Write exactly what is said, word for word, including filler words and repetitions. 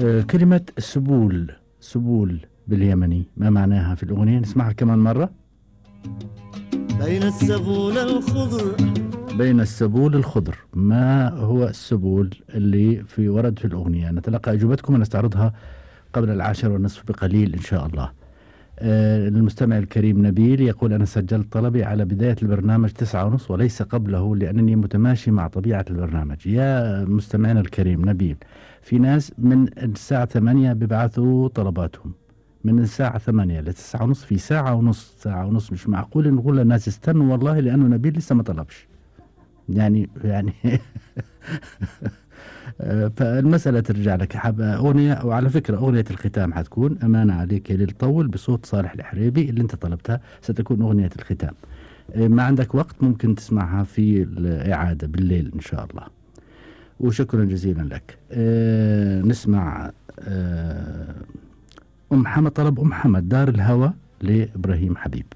آه، كلمة سبول سبول باليمني ما معناها في الأغنية؟ نسمعها كمان مرة. بين السبول الخضر. بين السبول الخضر، ما هو السبول اللي في ورد في الأغنية؟ نتلقى أجوبتكم ونستعرضها قبل العاشر والنصف بقليل إن شاء الله. آه، المستمع الكريم نبيل يقول: أنا سجلت طلبي على بداية البرنامج تسعة ونص وليس قبله لأنني متماشي مع طبيعة البرنامج. يا مستمعنا الكريم نبيل، في ناس من الساعة ثمانية بيبعثوا طلباتهم، من الساعة ثمانية لتسعة ونص في ساعة ونص ساعة ونص مش معقول نقول للناس استنوا والله لأنه نبيل لسه ما طلبش يعني يعني فالمسألة ترجع لك. حاب أغنية، وعلى فكرة أغنية الختام حتكون أمانة عليك للطول بصوت صالح الحريبي اللي أنت طلبتها، ستكون أغنية الختام. ما عندك وقت ممكن تسمعها في الإعادة بالليل إن شاء الله. وشكرا جزيلا لك. أه نسمع أه أم حمد، طلب أم حمد دار الهوى لإبراهيم حبيب.